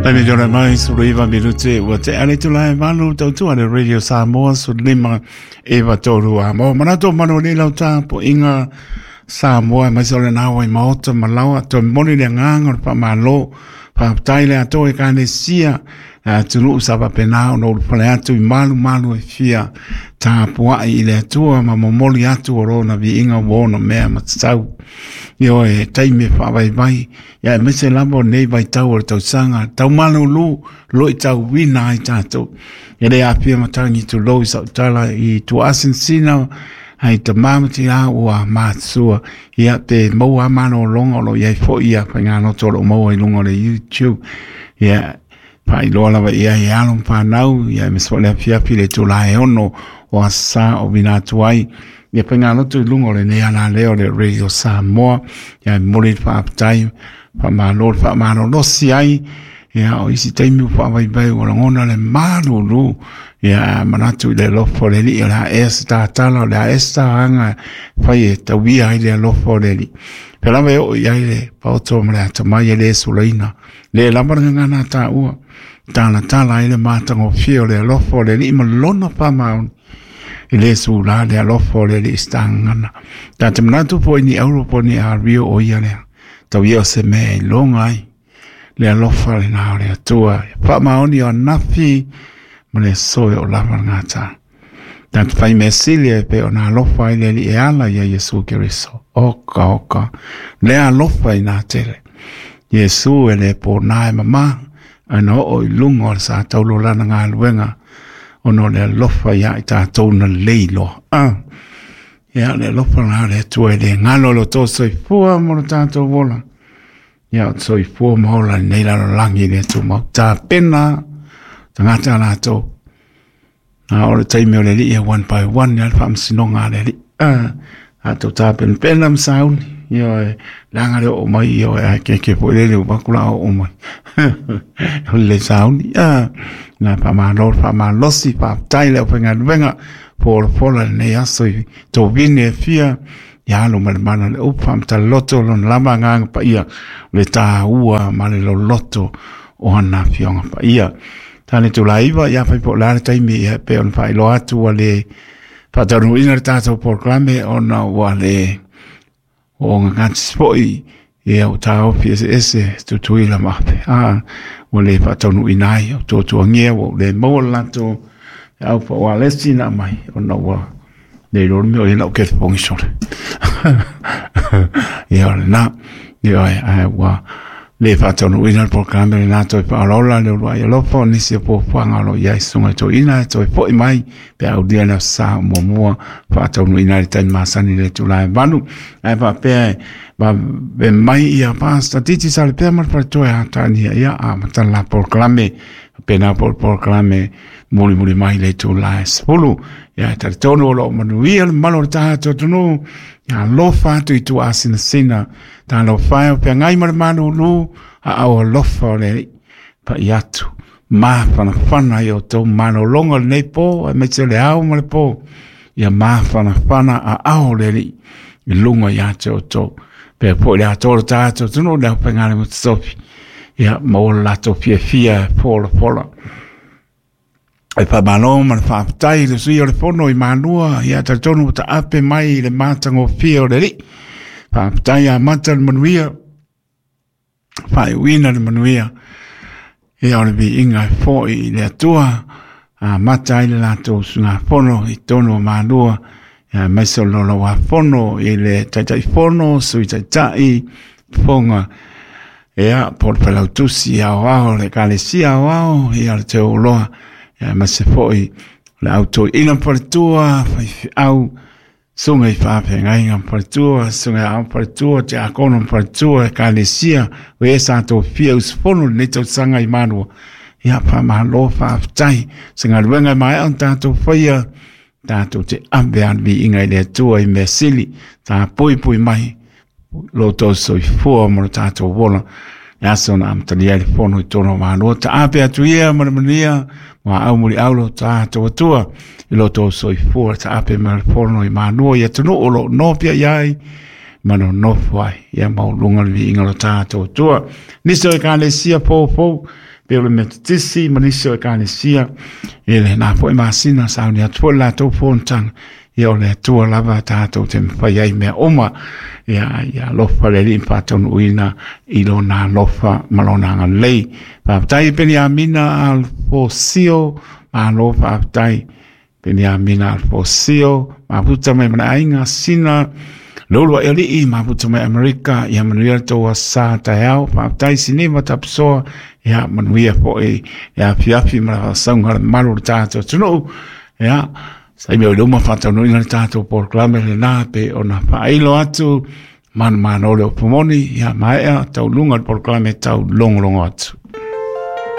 Taimi tōna mai, suru iwa minute, ua te ale tula e malu, tautua le Radio Samoa, suru lima, iwa tōru a mō. Manato manu ni lau tāpo inga Samoa, mai sa ole nā wai maota malawa, toi moni le nganga o le whamalo, whaptai le ato e kāne sia, a tunu sa wapena o no pale atu i malu malu e fia tāpuai i le atua ma momoli atu o rona vi inga wona mea matatau. Io e taimi e whaavaivai, ia e mese lava o nei vaitau o le tausaga, taumalūlū loitauina ai tātou. E le aafia matangi tulou i sau tala i tuaasinsina ai tamā ma tinā ua matua. Ia te maua malōloga o lo o i ai foi ia faigaloto o lo o maua i luga o le YouTube. Ia faailoa lava i ai e alo ma fanau, ia aemaise foi le afiafi i le itula e 6 o aso sa o vila atu ai. Ia faigaloto i luga o lenei alaleo o le Radio Samoa. Ia e momoli le faafetai, faamalo le faamalolosi ai. Ia o isi taimi ua faavaivai ua lagona le malulu. Ia manatu i le alofa o le Alii o le a ea se tatala, o le a ea se taga e fai e tauia ai le alofa o le Alii. Pea lava e oo i ai le paoto ma le atamai e le sulaina. Le lava le gagana a tāua, talatala ai le matagofie o le alofa o le Alii ma lona faamaoni. E le sula le alofa o le Alii se tagana. Ta te manatu po i ni auro po ni ario o ia lea. Tau ia o se mea e iloga ai le alofa lenā o le Atua. Faamaoni o anafi ma le aso e o lava le gata. Ta te whai mea sili e pe o nā alofa ai le Alii e ala ia Iesu Keriso. Oka, oka, le alofa i nā tele. Iesu e le pō nā e mamā, ai na oo i lunga o le sa taulo lana galuega, ona o le alofa ia i tātou na leiloa. Ah, ia le alofa la le Atua e le ngalo lo tō soifua mo lo tātou ola. Ia o te soifua ma ola i nei lalolagi le Atua mau tāpena, tagata lātou. A o le taimi o le alii e one by one ia le faamasinoga a le alii. A, a tou tapenapena ma sauni, ioe, leaga le oo mai, ioe, ae keke foi lele ua vaku la oo mai. O le sauni, a, na faamalo le faamalosi, faafetai le aufaigaluega, folafola lenei aso i tovine e fia, ia alo ma le mana o le upu faamatala-loto lona lava agaga paia, o le tāua ma le loloto o ana afioga paia. Tane tulaiva, ia fai po o le a le taimi ia pei ona faailoa atu ua le faataunuuina le tatou polokalame ona ua le ogagatisi foi ia ua taofi eseese Tutuila ma Ape. A, ua le faataunuuina ai, o tuatuagia ua ou le maua le latou au paoalesi na aumai ona ua le iloa le mea o i ai lau telefoni sole. Ia o lena, ioe, ae ua le faataunuuina le polokalame lenā toe faaolaola le uluai alofa o nisi o fuafuaga o lo o i ai susuga i toeaina e toe foi mai pe a aulia le aso sa o muamua faataunuuina ai le taimi masani i le itula e 8. Ae faapea e vave mai ia Pastor Titi Salepea ma le faletua e Hatania, ia amata le la polokalame, faapena foi le polokalame mulimuli mai le itula e 10. Ia e talitonu o lo o manuia le mamalu o le tatou atunuu, ia alofa atu i tuaasinasina, talofa e o feagai ma le malūlū, aao alofa o le Alii, pai atu, mafanafana i o outou malologa o lenei pō, aemaise o le ao ma le pō, ia mafanafana aao o le Alii i luga ia te outou. Pea foi le atoa o le tatou atunuu le aufaigaluega totofi, ia maua le latou fiafia e folafola. E faamalo ma le faafetai i le sui o le fono i Malua, ia talitonu ua taape mai i le matagofie o le Alii. Faafetai amata le manuia, faaiuina le manuia, ia o le viiga e foi i le Atua, amata ai le latou usugafono i totonu o Malua, ia aemaise o le Laulau-a-Fono i le Taitaifono, Sui Taitai, Fofoga, ia, po o le Failautusi Aoao o le Ekalesia Aoao, ia o le Teuoloa, ia aemaise foi o le au toeaina ma faletua, faifeau, susuga i faafeagaiga ma faletua, susuga i aoga faletua, tiakono ma faletua, Ekalesia, o e sa tofia usufono i lenei tausaga i Malua. Ia, faamalo, faafetai. Se galuega e maea ona tatou faia, tatou te ave a le viiga i le Atua i mea sili, tapuipui mai lo outou soifua ma lo tatou ola. Le aso na amatalia ai le fono i totonu o Malua, taape atu ia ma le manuia, ma au muliau lo tatou Atua i lo outou soifua, taape ma le fono i Malua i atunuu o lo o nofia i ai, ma nonofo ai, ia maualuga le viiga o lo tatou Atua. Nisi o Ekalesia foufou, Pei o le Metotisi ma nisi o Ekalesia i lena foi masina sauni atu foi le latou fonotaga. Ia o le Atua lava tatou te mafai ai mea uma. Ia ia alofa le Alii ma faataunuuina i lona alofa ma lona agalelei. Faafetai Peniamina Alfosio, malo faafetai. Peniamina Alfosio, mafuta mai ma le aiga Sina, Lolo e alii, mafuta mai Amerika, ia manuia le tou aso sa taeao. Faafetai Siniva Tapusoa, ia manuia foi le afiafi ma le faasauga a le mamalu o le tatou atunuu. Ia, saimi o i luma faataunuuina le tatou polokalame lena pe ona faailo atu manumalo le upu moni, ia maea tauluga le polokalame tau logologo atu.